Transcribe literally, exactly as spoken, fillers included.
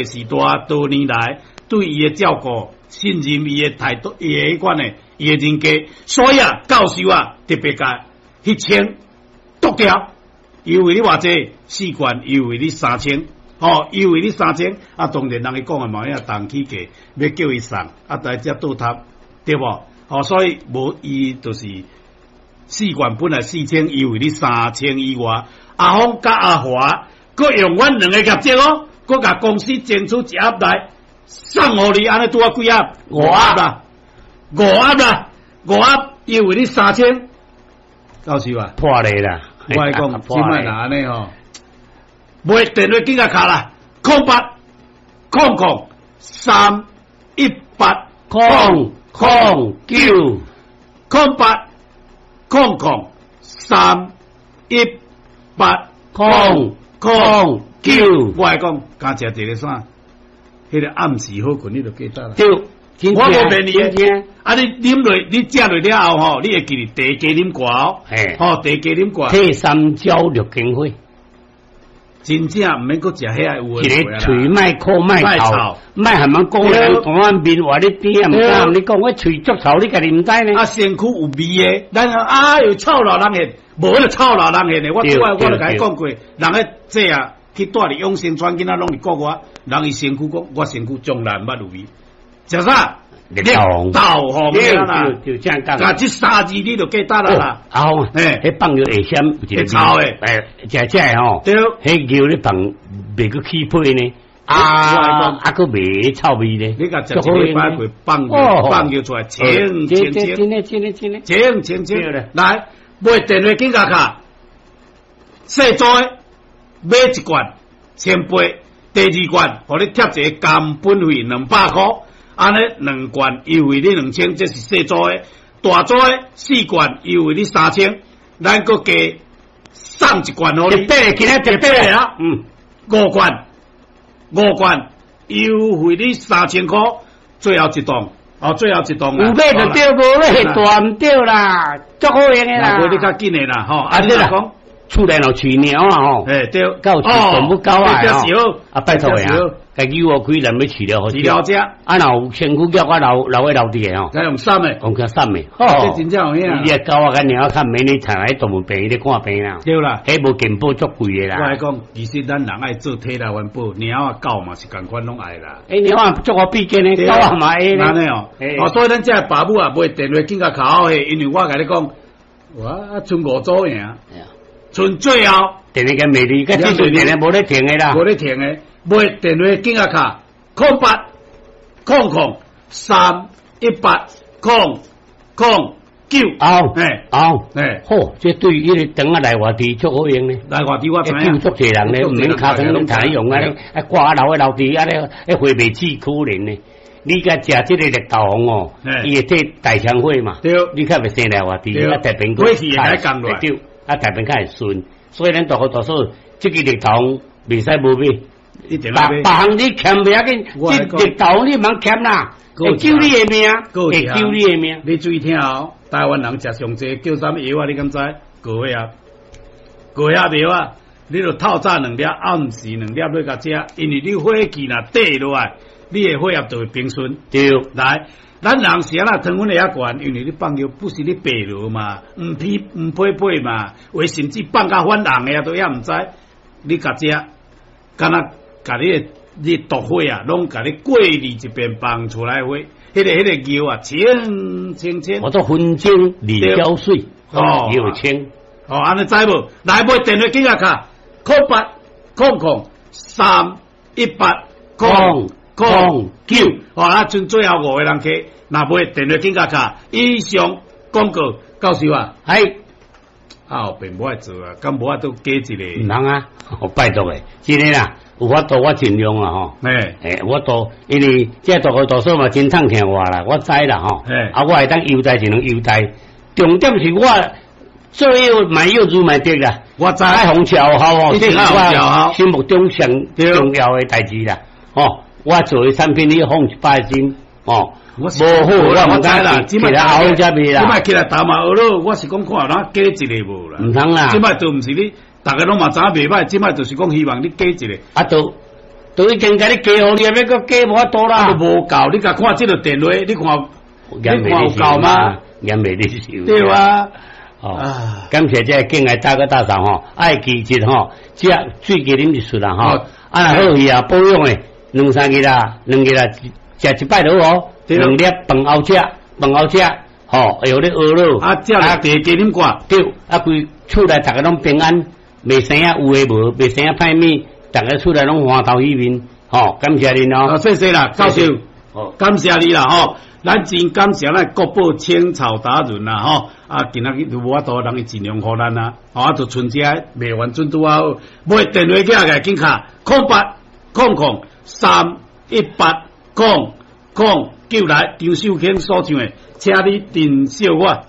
時代多年來對伊的照顧、信任伊的態度、伊的彼款的伊的人格，所以啊，教授啊特別共彼千剁掉，優惠你偌濟，四罐優惠你三千，吼，優惠你三千，啊，當然人伊講的嘛，影動起價，欲叫伊送，啊，但才倒貼，對無？吼，所以無伊就是四罐本來四千，優惠你三千以外，阿峰佮阿華，閣用阮兩个業績哦，閣共公司爭取一盒來送予你，按呢拄仔幾盒？五盒啦，五盒啦，五盒優惠你三千，教授啊，破例啦！我來講，這擺若按呢吼，買電話緊共敲啦，空八空空三一八空空九，空八空空三一八空空九。我來講，加食一个啥？彼个暗時好睏，你就記得啦。對，我無騙你的。啊，你啉落，你食落了後吼，你會記得茶加啉寡哦。嘿，吼，茶加啉寡。退三焦六經火。真正毋免閣食遐有一个喙莫苦莫臭，莫含人講人講阮面話你甜，毋敢你講我喙足臭，你家己毋知呢？啊，身軀有味的，咱啊有臭老人現，無彼個臭老人現的。我拄仔我就共伊講過，人咧這啊去蹛佇永生村，囡仔攏佇國外，人伊身軀講，我身軀從來毋捌有味。食啥？綠豆豆紅啦，就這樣講。啊，這三字你就記得啦啦。阿峰，彼放藥會閃有一個臭的，欸，食食的吼。對。彼尿咧放袂閣起皮呢？啊啊，閣袂臭味咧。你共食一禮拜過放尿放尿出來，清清清。真的真的真的。清清清。來，買電話緊共敲，細組的買一罐千八，第二罐予你貼一個工本費兩百箍。按呢兩罐優惠你兩千，這是細組的；大組的四罐優惠你三千，咱閣加送一罐予你。特別，今仔特別啊！嗯，五罐，五罐優惠你三千箍，最後一檔，哦，最後一檔。有買就對，無買大毋對啦，足好用的啦。無你較緊的啦，吼。啊對啦，厝內若飼貓啊吼，欸對，夠飼動物狗啊吼，啊拜託的啊。家己有開咱欲飼料予飼料食，啊若有身軀叫我留留咧留佇的吼，該用送的，講較送的，這真正有影。伊個狗仔佮貓仔較免你帶來動物病院咧看病啦。對啦，彼無健保足貴的啦。我來講，其實咱人愛做體力環保，貓仔狗嘛是仝款攏愛啦。欸，貓仔足好比肩的，狗仔嘛會呢。按呢哦，哦，所以咱這爸母啊，買電話緊共敲的，因為我共你講，我賰五組贏，賰最後電話佮美麗，佮這陣電話無咧停的啦，無咧停的。買電話緊共敲，空八空空三一八空空九，後，欸後，欸，好，這對彼个長仔內外佇足好用呢。內外佇我知影，救足濟人咧，毋免尻川攏通用啊，啊掛啊留咧樓梯啊咧，彼火袂死可憐呢。你共食這个綠豆黃哦，伊會退大腸火嘛？對，你較袂生內外佇，啊大便火氣會降落來，對，啊大便較會順。所以咱大哥大嫂，這个綠豆黃袂使無買。別別項你欠袂要緊，這綠豆你毋通欠啦，會救你的命，會救你的命。你注意聽哦，台灣人食上濟叫啥物藥啊？你敢知？高血壓，高血壓藥啊！你著透早兩粒，暗時兩粒，欲共食，因為你火氣若底落來，你的血壓就會平順。對，來，咱人是按怎糖分會遐懸？因為你放尿不是咧白羅嘛，毋皮毋配配嘛，有甚至放甲反紅的啊，都猶毋知。你共食，敢若共你的你毒火啊，攏共你過濾一遍放出來火，彼个彼个尿啊，清清清。我做分清二膠水，哦，又清。哦，按呢知無？來買電話緊共敲，空八空空三一八空空九。哦，啊，賰最後五个人客，若買電話緊共敲。以上廣告，教授啊，係。啊，後邊無愛做啊，敢無法度加一个？毋通啊，我拜託的，真的啦，有法度我盡量啊吼。欸，欸，有法度，因為這大哥大嫂嘛真痛疼我啦，我知啦吼。欸，啊，我會當優待一兩優待，重點是我做藥賣藥如賣得啦。我知。愛予食有效哦，這是我心目中上重要的代誌啦。吼，我做的產品你放一百心，吼。無好，我毋知啦，起來後才賣啦。這擺起來頭嘛學咯，我是講看有哪加一个無啦。毋通啦。這擺都毋是你，逐个攏嘛知影袂䆀，這擺就是講希望你加一个。啊，都都已經共你加予你，欲閣加無法度啦。無夠，你共看這个電話，你看，你看有夠嗎？嚴袂你受。對啊。哦，感謝這个敬愛大哥大嫂吼，愛記得吼，這水加啉一束啦吼，啊好去啊保養的，兩三日啦，兩日啦，食一擺就好哦，兩粒飯後食，飯後食，吼，會予你餓咯。啊，食茶加啉寡，對，啊規厝內逐家攏平安，袂生啊有的無，袂生啊歹物，逐家厝內攏歡頭喜面，吼，感謝恁哦。謝謝啦，教授，感謝你啦，吼。咱真感謝咱國寶青草達人啦，吼！啊，今仔日都無法度，人伊盡量予咱啊，吼啊，就賰這賣完準拄好，買電話寄來緊敲空八空空三一八空空九來張秀卿所唱的，請你珍惜我。